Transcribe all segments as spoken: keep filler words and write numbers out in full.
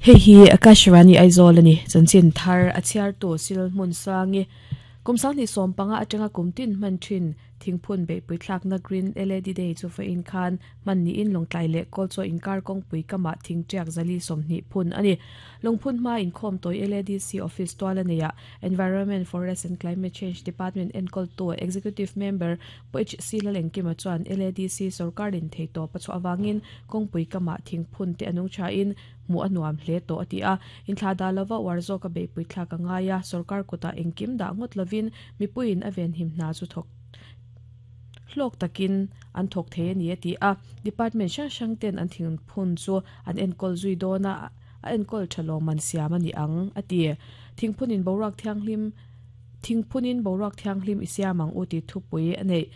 Hei hi Akashvani Aizawl ani chanchin thar a chhiar tu sil hmun sangi kumsang ni som panga atanga kumtin man thin thingphun be puithlak na Green L A D Day chu fa in khan man ni in longtlai le kol cho inkar kong pui kama thing tiak zali somni phun ani. Lungphun ma in khom toy L A D C office twala neya Environment, Forest and Climate Change Department enkol to executive member poich sila lengkima chuan L A D C sarkarin theito pachu awangin kong pui kama thingphun te anung cha in mu anuam hle to ati a. In thla da lova warzo ka be pui thla ka ngaya sarkar kota engkim da ngot lovin mipuin aven him na chu thok hlok takin an thok the ni ati a. Department hrang hrang ten an thing phun chu an enkol zui dona a enkol thalo man siam ani ang ati. Thingphun in boruak thianghlim, thingphunin boruak thianghlim isiamang uti thupui anei.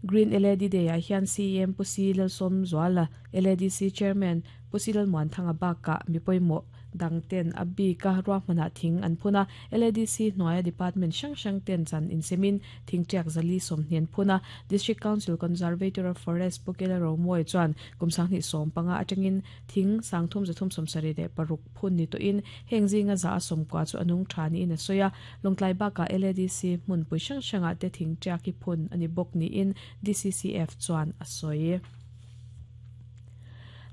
Green L A D Day a hian C M Pusi Lalsom Zwala, L A D C Chairman Pusi Lalmuan Thanga baka mipoimo dangten abi ka ruahmana thing an phuna. L A D C hnuaia department hrang hrang ten chan insemin thingtiak zali sawmhnian phuna. District Council Conservator of Forest Pukela Romoi chuan kumsang ni som panga atangin thing sangthum zathum sawmsarih leh paruk phun ni tawhin heng zinga za a sawmkua chu anung tha niin a sawi a. Lawngtlai bakah L A D C hmunpui hrang hrangah te thingtiak hi phun ani bawk niin D C C F chuan a sawi.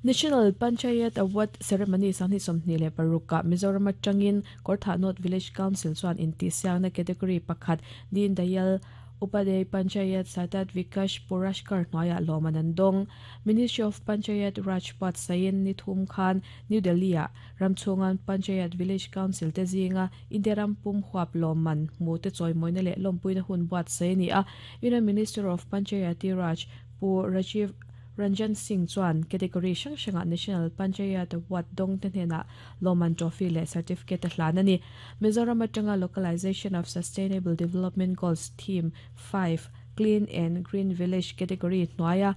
National Panchayat Award Ceremony sangni sawmhnih leh paruk Mizoram atangin Kawrthah North Village Council chuan intihsiakna category pakhat Deen Dayal Upadhyay Panchayat Satat Vikash Puraskar hnuaiah lawman an dawng. Ministry of Panchayat Raj Pat Sain ni thum khan New Delhi ah ramchhungan Panchayat Village Council te zinga India ram pum huap lawman hmu te chawimawina leh lawmpuina hun buat sai ni a. Union Minister of Panchayati Raj Pu Rajiv Ranjan Singh chuan category hrang hrangah National Panchayat Award dawng te hnenah lawman trophy leh certificate a hlan ani. Mizoram atanga Localization of Sustainable Development Goals Theme five Clean and Green Village category hnuaia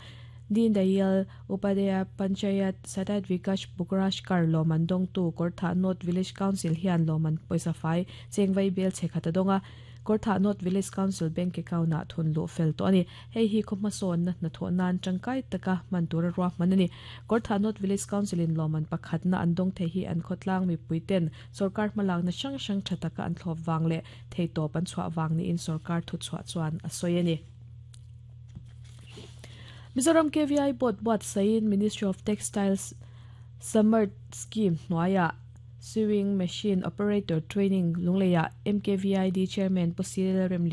Deen Dayal Upadhyay Panchayat Satat Vikash Puraskar lawman dawngtu Kawrthah North Village Council hian lawman pawisa fai chengvai bel chhekhat a dawnga. Kawrthah North Village Council bank account ah thun luh fel tawh ani. Hei hi khaw hmasawn na hnathawh nan tangkai taka hman tura ruahman ani. Kawrthah North Village Council in lawman pakhat na an dawng thei hi an khawtlang mipui ten sarkar hmalak na hrang hrang tha taka an thlawp wang leh thei tawp an chhuah wang niin sarkar thu chhuah chuan a sawi ani. Mizoram K V I Board buat saiin Ministry of Textiles Samarth Scheme hnuaiah Sewing Machine Operator Training Lungleia M K V I D Chairman Pusil Remlian